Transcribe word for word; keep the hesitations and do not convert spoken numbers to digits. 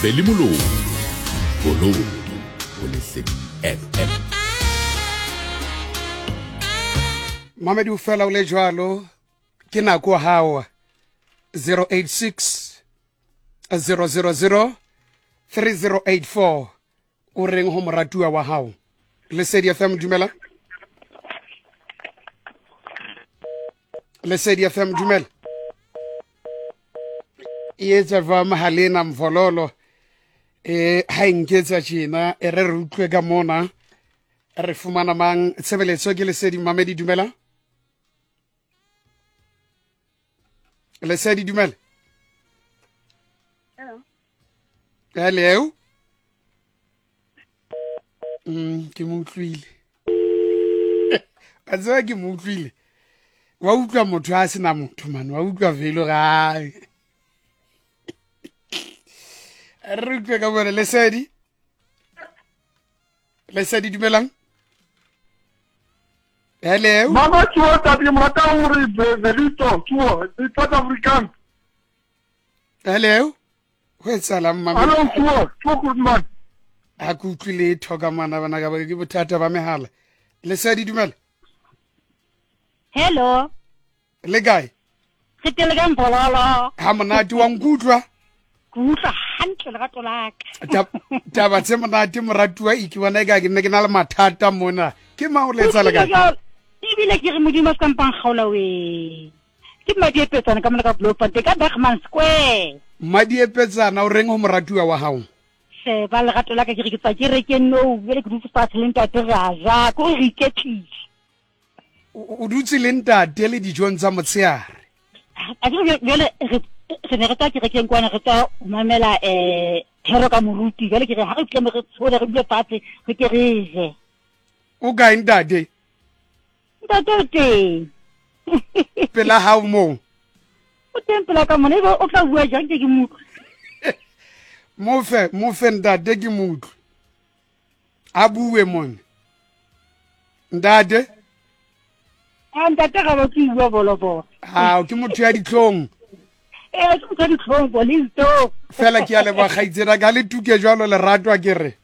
Veli Molomo Bololo ho Lesedi F M. Mamedi o fela o le jwalo ke nako hao zero eight six zero zero zero three zero eight four o reng ho moratuwa wa hao. Lesedi F M dumela. Lesedi F M dumela. E etsa jwang Mahalena Mvololo? Eh ha e nketsa tjena e re re utlwe ka mona re fumana mang tshebeletso ke Lesedi Mamedi dumela. Lesedi dumela. Hello. Hello. Mm ke mo utlwile. A tseba ke mo utlwile. Wa utlwa motho a sena motho man, wa utlwa velo ga. Re utlwe ka bone Lesedi. Lesedi dumelang. Hello. Mama tsoa tati mrata hore Velito tsoa South African. Hello. Ho etsahalang mama? Hello tsoa, tsoa good man. Ha ke utlwe letho ka mana bana ka ke bothata ba mehala. Lesedi dumela. Hello. Le kae? Re teng ka Mbololo. Ha monate wa nkutlwa? Ke utlwa hantle lerato la ka. Taba tse monate moratuwa e ke bona e ka ke nne ke na le mathata mona. Ke mang o le etsa le kae? Ebile ke re Modimo a se ka mpang kgaola we. Ke Madiepetsana ka mona ka Bloemfontein ka Bergman Square. Madiepetsana o reng ho moratuwa wa hao? She ba lerato la ka ke re ke tswa ke rekeng nou, jwale ke dutse fatshe le ntate re a ja, ke hore re iketlile. O dutse le ntate le dijong tsa motshehare. A ke re jwale re re ne re tswa kerekeng kwana re tswa ho mamela eh thero ka moruti, jwale ke re ha re tle re tshole re dule fatshe re ke re je. O kae ntate? Ntate o teng. Pela hao moo? O teng pela ka mona, ebe o tla bua jang ke ke mo utlwe? Mofe, mofe ntate ke mo utlwe. A bue mone. Ntate? Ah, ntate ga ba ke bua bolobolo. Ah, ke motho ya ditlhong. Eh, ke motho ya ditlhong, bolito. Fela ke a leboha kgaitsedi ka le tuke jwalo lerato a ke re.